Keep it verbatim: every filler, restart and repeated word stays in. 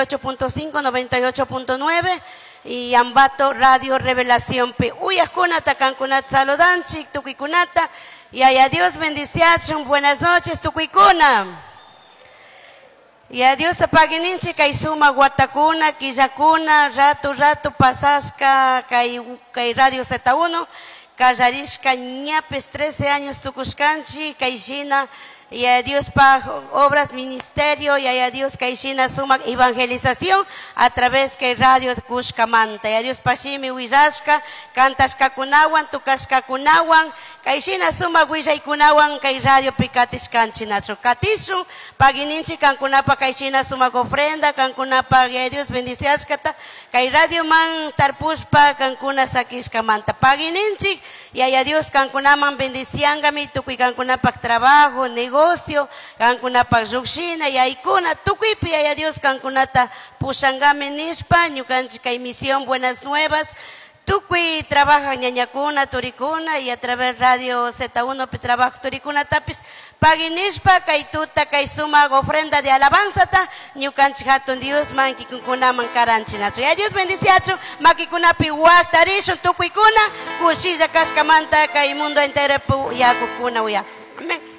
ocho punto cinco, noventa y ocho punto nueve y Ambato Radio Revelación P. Uyajkunata, kankunata saludanchik, tukuykunata. Y a Dios bendiciachun. Buenas noches, tukuykuna. Y a Dios te paguininchi kay suma guatakuna, quillakuna, rato, rato pasashka, kay, kay Radio Z uno, kallarishka ñapes trece años tukushkanchi, kay shina, y a Dios pa obras ministerio, y a Dios kay shina suma evangelización a través que radio kushkamanta. Y a Dios pa shimi willashka, kantashkakunawan, tukashkakunawan, kay shina suma willaykunawan, kay radio pikatishkanchi nacho. Katishun, pagininchi kankunapa kay shina suma ofrenda, kankunapa, y a Dios bendiciashkata, kay radio man tarpushpa kankuna sakishkamanta. Pagininchi, y a Dios kankunaman bendiciangami, tukuy kankunapa trabajo, negocio, kankunapa llukshina, yaykuna, tukuypi yaya Dios kankunata pushangami nishpa, ñukanchik kay misión Buenas Nuevas, tukuy trabaja ñañakuna, turikuna, y a través Radio Z uno pi trabajo turikuna tapis, paginishpa, kay tuta, kay suma ofrenda de alabanzata, ñukanchik hatun Dios man kikunkunaman karanchinachu. Ya Dios bendiciachu, makikunapi waktarishun tukuykuna, kushilla kashkamanta kay mundo entero pu yakukuna uya. Amén.